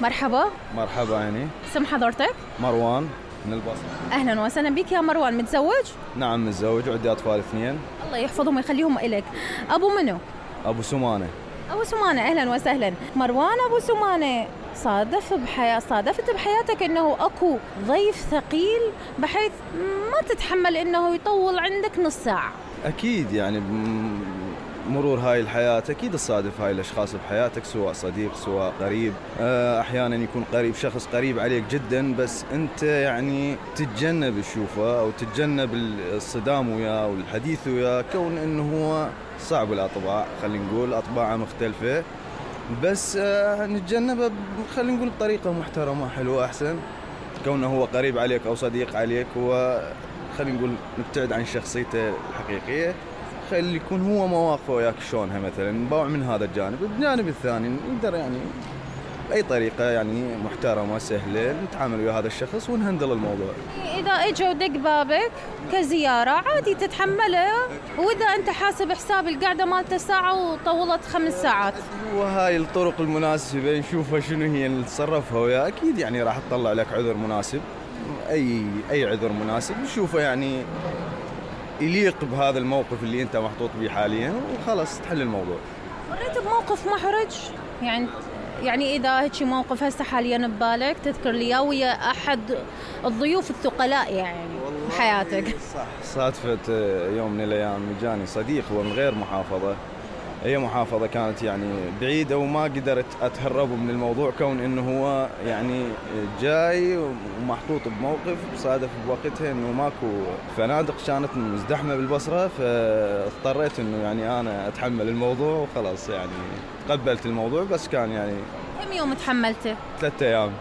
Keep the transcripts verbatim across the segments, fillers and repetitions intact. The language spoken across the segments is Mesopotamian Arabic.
مرحبا. مرحبا عيني. اسم حضرتك؟ مروان من البصرة. أهلا وسهلا بك يا مروان. متزوج؟ نعم متزوج وعندي أطفال اثنين. الله يحفظهم ويخليهم إلك. أبو منو؟ أبو سمانة. أبو سمانة، أهلا وسهلا. مروان أبو سمانة، صادف بحياة صادفت بحياتك أنه أكو ضيف ثقيل بحيث ما تتحمل أنه يطول عندك نص ساعة؟ أكيد يعني مرور هاي الحياة أكيد تصادف هاي الأشخاص بحياتك، سواء صديق سواء قريب. أحيانا يكون قريب شخص قريب عليك جدا، بس أنت يعني تتجنب تشوفه أو تتجنب الصدام وياه والحديث وياه، كون أنه هو صعب الأطباع، خلينا نقول أطباعه مختلفة، بس نتجنبه خلينا نقول بطريقة محترمة حلوة أحسن. كونه هو قريب عليك أو صديق عليك، وخلينا نقول نبتعد عن شخصيته الحقيقية، خلي يكون هو مواقفه وياك شلونها مثلا، نباوع من هذا الجانب. الجانب الثاني نقدر يعني بأي طريقة يعني محترمة سهلة نتعامل ويا هذا الشخص ونهندل الموضوع. إذا اجوا دق بابك كزيارة عادي تتحمله، وإذا أنت حاسب حساب القعدة مالته ساعة وطولت خمس ساعات، وهاي الطرق المناسبة نشوفها شنو هي نتصرفها وياه. أكيد يعني راح تطلع لك عذر مناسب، أي أي عذر مناسب نشوفه يعني يليق بهذا الموقف اللي أنت محطوط به حاليا، وخلاص تحل الموضوع. مريت بموقف محرج يعني؟ يعني إذا هيك موقف هسه حاليا ببالك تذكر لي ويا أحد الضيوف الثقلاء يعني بحياتك؟ صح. صادفت يوم من الأيام جاني صديق هو من غير محافظة، هي محافظة كانت يعني بعيدة، وما قدرت أتهرب من الموضوع، كون إنه هو يعني جاي ومحطوط بموقف صادف بوقتها إنه ماكو فنادق كانت مزدحمة بالبصرة، فاضطريت إنه يعني أنا أتحمل الموضوع وخلاص، يعني تقبلت الموضوع. بس كان يعني كم يوم تحملته؟ ثلاثة أيام.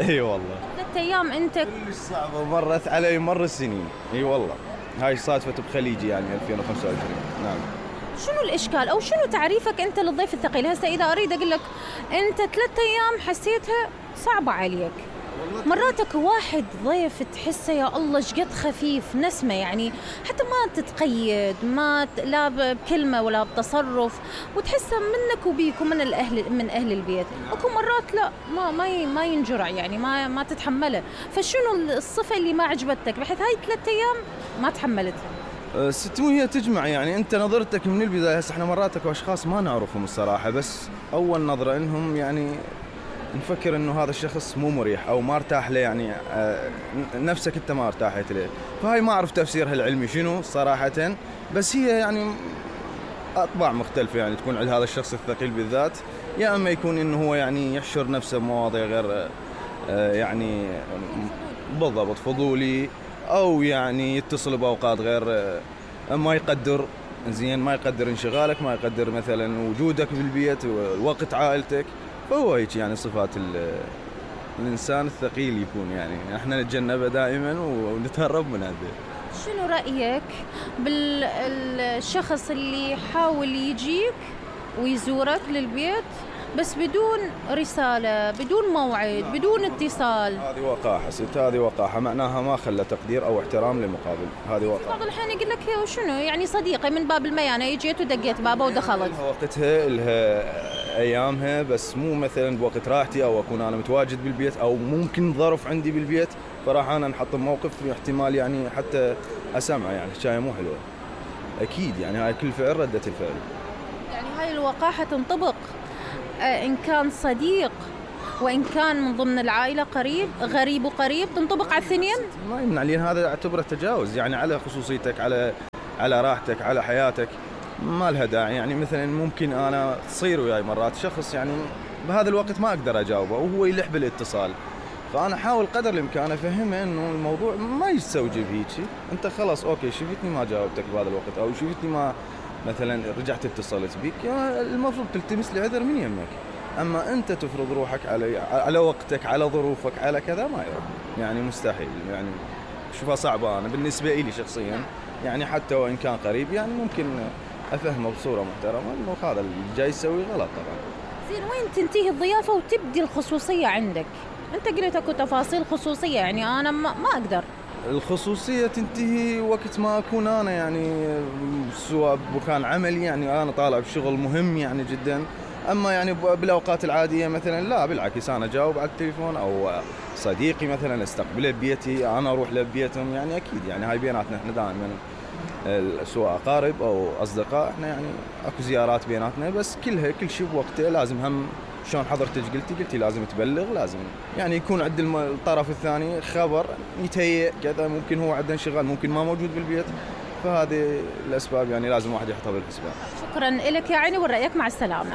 اي والله ثلاثة أيام. أنت كلش صعبة، مرت علي مر السنين. اي والله هاي صادفت بخليجي يعني ألفين وخمسة وعشرين. نعم. شنو الإشكال أو شنو تعريفك أنت للضيف الثقيل؟ هسه إذا أريد أقول لك أنت ثلاثة أيام حسيتها صعبة عليك، مراتك واحد ضيف تحسه يا الله شقد خفيف نسمة، يعني حتى ما تتقيد، ما لا بكلمة ولا بتصرف، وتحسه منك وبيك ومن الأهل من أهل البيت. أكو مرات لا ما ما ما ينجرع يعني ما ما تتحمله. فشنو الصفة اللي ما عجبتك بحيث هاي ثلاثة أيام ما تحملتها؟ ست مو هي تجمع يعني أنت نظرتك من البداية. هسه احنا مراتك وأشخاص ما نعرفهم الصراحة، بس أول نظرة إنهم يعني نفكر إنه هذا الشخص مو مريح أو ما ارتاح له، يعني آه نفسك أنت ما ارتاحت له. فهاي ما أعرف تفسيرها العلمي شنو صراحة، بس هي يعني أطباع مختلفة يعني تكون عند هذا الشخص الثقيل بالذات. يا أما يكون إنه هو يعني يحشر نفسه بمواضيع غير آه يعني بالضبط فضولي، أو يعني يتصل بأوقات غير ما يقدر زين، ما يقدر انشغالك، ما يقدر مثلا وجودك بالبيت ووقت عائلتك. فهو هيك يعني صفات الإنسان الثقيل يكون، يعني احنا نتجنبه دائما ونتهرب من هذا. شنو رأيك بالشخص اللي يحاول يجيك ويزورك للبيت بس بدون رسالة، بدون موعد، بدون اتصال؟ هذه وقاحة ست، هذه وقاحة، معناها ما خلى تقدير أو احترام للمقابل. هذه وقاحة. بعض الأحيان يقول لك شنو يعني صديقي من باب الميانة جيت ودقيت بابه ودخلت. لها وقتها، لها أيامها، بس مو مثلا بوقت راحتي أو أكون أنا متواجد بالبيت أو ممكن ظرف عندي بالبيت، فراح أنا نحط موقف احتمال يعني حتى أسمعه يعني حكاية مو حلوة. أكيد يعني هاي كل فعل ردة الفعل. يعني هاي الوقاحة تنطبق إن كان صديق وإن كان من ضمن العائلة قريب، غريب وقريب، تنطبق على الاثنين؟ ما يمنع، لأن هذا اعتبره تجاوز يعني على خصوصيتك، على على راحتك، على حياتك، ما لها داعي. يعني مثلا ممكن أنا تصير وياي مرات شخص يعني بهذا الوقت ما أقدر أجاوبه وهو يلح بالاتصال، فأنا حاول قدر الإمكان أفهمه إنه الموضوع ما يستوجب هيك. أنت خلاص أوكي شفتني ما جاوبتك بهذا الوقت، أو شفتني ما مثلا رجعت اتصلت بيك، المفروض تلتمس لي عذر من يمك. أما أنت تفرض روحك على على وقتك، على ظروفك، على كذا، ما يرد يعني مستحيل. يعني شوفها صعبة أنا بالنسبة لي شخصيا، يعني حتى وإن كان قريب يعني ممكن أفهمه بصورة محترمة إنه هذا اللي جاي يسوي غلط طبعا. زين، وين تنتهي الضيافة وتبدي الخصوصية عندك؟ أنت قلت أكو تفاصيل خصوصية، يعني أنا ما, ما أقدر. الخصوصية تنتهي وقت ما أكون أنا يعني سواء بكان عملي، يعني أنا طالع بشغل مهم يعني جدا، اما يعني بالاوقات العاديه مثلا لا بالعكس انا اجاوب على التليفون، او صديقي مثلا استقبله ببيتي انا اروح لبيتهم، يعني اكيد يعني هاي بيناتنا احنا دائما سواء اقارب او اصدقاء احنا يعني اكو زيارات بيناتنا، بس كلها كل شيء بوقته. لازم هم شلون حضرتك قلتي قلتي لازم تبلغ، لازم يعني يكون عند الطرف الثاني خبر يتهيأ كذا، ممكن هو عنده انشغال ممكن ما موجود بالبيت، فهذه الاسباب يعني لازم واحد يحطها بالحسبان. شكرا لك يا عيني ونرايك، مع السلامه.